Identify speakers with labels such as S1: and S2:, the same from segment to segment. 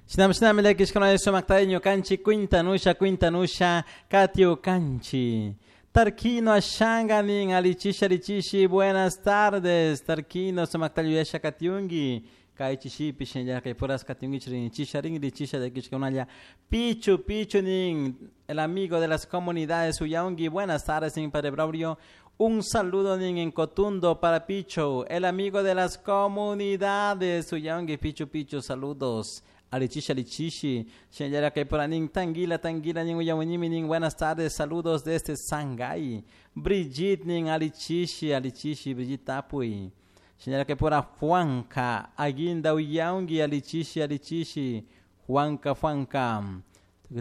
S1: Shinami llakishkuna sumaktay ñukanchik kwintanusha kwintanusha katiukanchi. Tarquino Ashanga nin alichishi alichishi buenas tardes Tarquino sumaktay yuyasha katiunki kay chishipi shinallara kay puras katiunkichik rinchisha rinrichisha llakishkunalla Pichu Pichu nin el amigo de las comunidades uyaunki buenas tardes nin Padre Braulio. Un saludo nin en Cotundo para Picho, el amigo de las comunidades. Uyaunki Pichu Pichu, saludos. Alichishi, alichishi. Shinallara kay nin Tanguila, Tanguila nin uyaunimi nin buenas tardes, saludos desde Shanghái. Brigitte nin alichishi, alichishi, Brigitte Tapui. Shinallara kay pora Juanca, Aguinda uyaunki, alichishi, alichishi. Juanca, Juanca.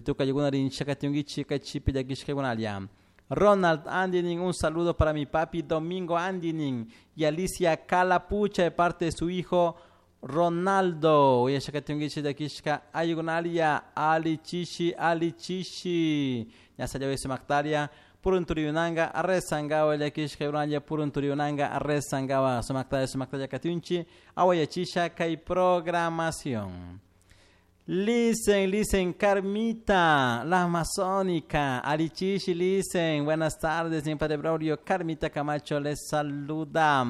S1: Tuka yuguna rinchaka tiungichi kay chipi llakishka Ronald Andinin, un saludo para mi papi Domingo Andinin y Alicia Calapucha de parte de su hijo Ronaldo. Uyashaka tiungichi llakishka ayugunalia alichishi alichishi. Ñasallawi sumaktaria purunturiyunanga arresangawa llakishka uralla purunturiyunanga arresangawa sumaktaria sumaktaria katiunchi awayachisha kay programación. Listen, listen, Carmita, la amazónica, Alichishi, listen, buenas tardes, mi padre Braulio, Carmita Camacho les saluda.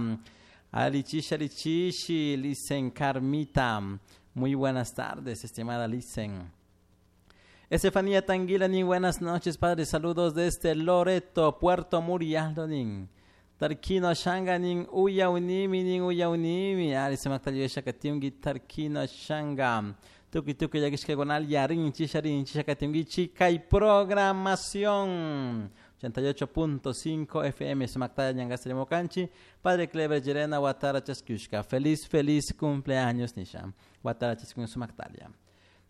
S1: Alichishi, Alichishi, listen, Carmita, muy buenas tardes, estimada listen. Estefanía Tanguila, nin, buenas noches, padre, saludos desde Loreto, Puerto Murialdo, nin. Tarquino Shanga nin uya unimi nin uya unimi ari sumakta katiunki Tarquino Shanga. Tukuy tukuy llakishkakunalla rinchisha rinchisha katiunkichik kay programación 88.5 FM sumaktalla ñangasirimukanchik Padre Clever Llerena watara chaskushka feliz feliz cumpleaños nisha watara chaskun sumaktalia.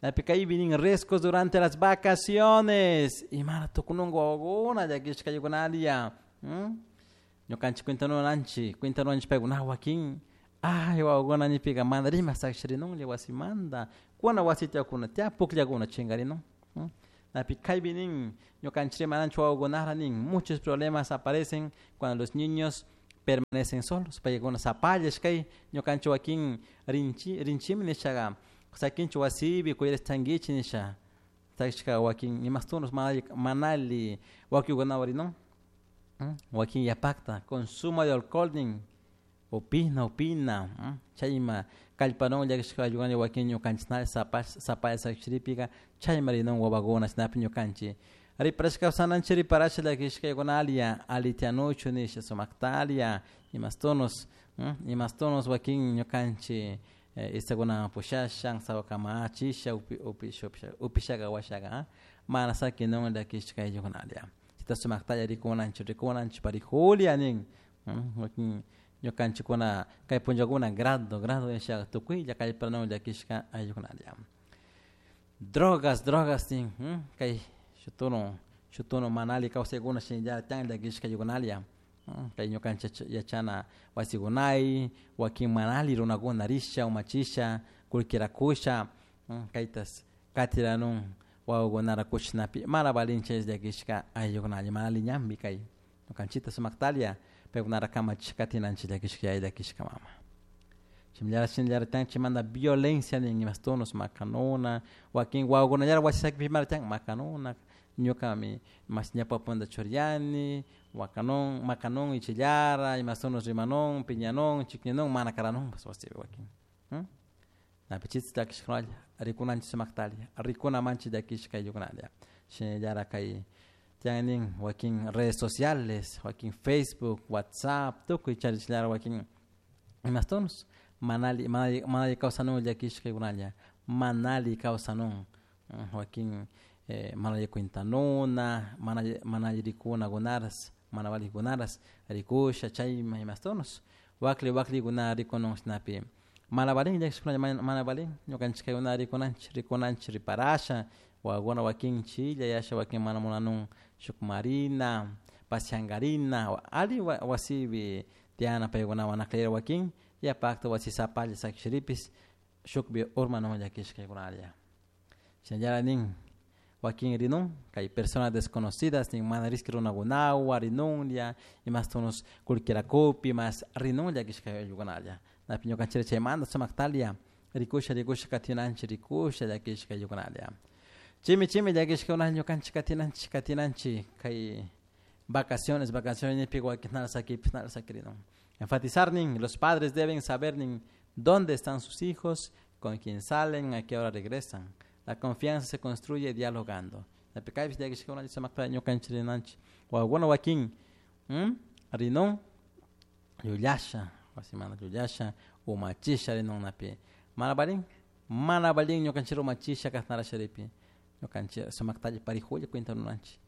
S1: Napi kaypi nin riesgos durante las vacaciones imara tukununka wawakuna llakishkaykunalia. Ñukanchik cuentanunanchik cuentanunanchik paykuna wakin ay wawakuna nipika mana rimak sakshirinunlla wasimanta kuna wasi tiyakuna tiyan pukllakuna chinkarinun. Napi kaypi nin ñukanchik rimananchik wawakunara nin muchos problemas aparecen cuando los niños permanecen solos paykuna sapallash kay ñukanchik wakin rinchi rinchimi nishaka sakinchik wasipi cuidashtankichik nisha sakishka wakin imastunos mana alli wakikunawan rinun wakin yapakta consumo de alcohol nin upina upina chayma kallpanun llakishka wakin ñukanchik sapalla sakishiripika chayma rinun wawakuna chaynapi ñukanchik riparashka kawsananchik riparasha llakishkaykunalia alli tiyanuchu nisha sumaktalia imastunos imastunos wakin ñukanchik istakunaman pushasha sawakamachisha upisha upishaka washaka mana sakinun llakishka ayllukunalia chayta sumaktalla rikunanchik rikunanchik parijulia nin wakin ñukanchikkuna kay punllakuna grado grado nishaka tukuylla kallpanun llakishka ayllukunalia. Drogas drogas nin kay shuk shuk tono mana alli kawsaykuna shinallara tiyan llakishka ayllukunalia kay ñukanchik yachana wasikunay wakin mana alli runakuna risha umachisha kullkirakusha kaytas katiranun wawakunara kuchinapi mana valinchik llakishka ayllukunalla mana alli ñanpi kay ñukanchikta sumaktalia paykunara kamachish katinanchik llakishka yaya llakishka mama. Shinallara shinallara tiyan chaymanta violencia nin imastunos makanuna wakin wawakunallara wasi sakikpi mana tiyan makanuna ñukami mashi ñawpapunda churiani wakanun makanun ichillara imastunos rimanun piñanun chikninun mana karanunpas wasipi wakin. Napi chita llakishkunalla rikunanchik sumaktalla rikunamanchik llakishka ayllukunalla shinallara kay tiyan nin wakin redes sociales wakin Facebook WhatsApp tukuy charishllara wakin imastunos mana alli mana alli kawsanun llakishkaykunalla mana alli kawsanun wakin mana alli cuentanuna mana mana alli rikunakunaras mana valikunaras rikusha chayma imastunos wakli waklikuna rikunun chashnapi mana valin llakishkunalla mana valin ñukanchik kaykuna rikunanchik rikunanchik riparasha wawakuna wakin chilla yasha wakin mana munanun shuk marina pasiankarina alli wasipi tiyana paykunawan akllayra wakin yapakta wasi sapalla sakishiripis shukpi urmanun llakishkaykunalla. Shinallara nin wakin rinun kay personas desconocidas nin mana rishki runakunawan rinunlla imastunos kullkirakupi mas rinun llakishka ayllukunalla napi ñukanchik chaymanta sumaktalia Rikusha rikusha katinanchik rikusha llakishka ayllukunalla. Chimi chimi llakishkakuna ñukanchik katinanchik katinanchik kay vacaciones vacaciones nipi wakinara sakipis nara sakirinun. Enfatizar nin, los padres deben saber nin dónde están sus hijos, con quién salen, a qué hora regresan. La confianza se construye dialogando. Napi kaypish llakishkakuna sumakta ñukanchik rinanchik wawakuna wakin rinun llullasha wasimanta llullasha umachisha rinun napi mana valin mana valin ñukanchik umachisha kashnara sharipi ñukanchik sumaktalla parijulla cuenta ruranchik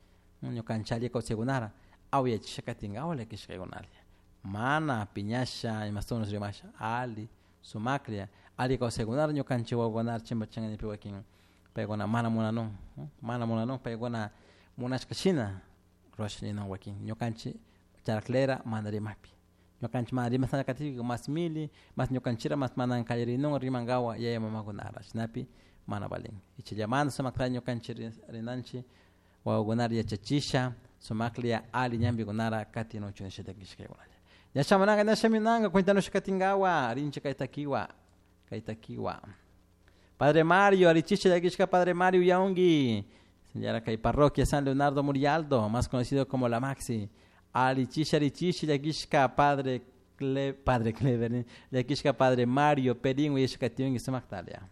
S1: ñukanchik alli kawsaykunara awyachisha katinkawa llakishkaykunalla mana piñasha imastunas rimasha alli sumaklla alli kawsaykunara ñukanchik wawakunara chimpachinka wakin paykuna mana munanun mana munanun paykuna munashka shina rurasha ninun wakin ñukanchik charaklera mana rimakpi ñukanchik mana rimasana katikpi mas mili mas ñukanchikra mas mana kallarinun rimankawa yaya mamakunara shinapi mana valin ichallamanta sumaktalla ñukanchik rinanchik wawakunara yachachisha sumaklla alli ñambikunara katinuchun nisha llakishkaykunalla. Ña shamunanka ña shamunanka cuentanusha katinkawa rinchik kay takiwa kay takiwa. Padre Mario, alichisha llakishka Padre Mario Yaungi, señora kay parroquia San Leonardo Murialdo, más conocido como La Maxi. Alichisha alichisha llakishka Padre Padre Clever, llakishka Padre Mario Perín uyashka tiungi sumaktalia.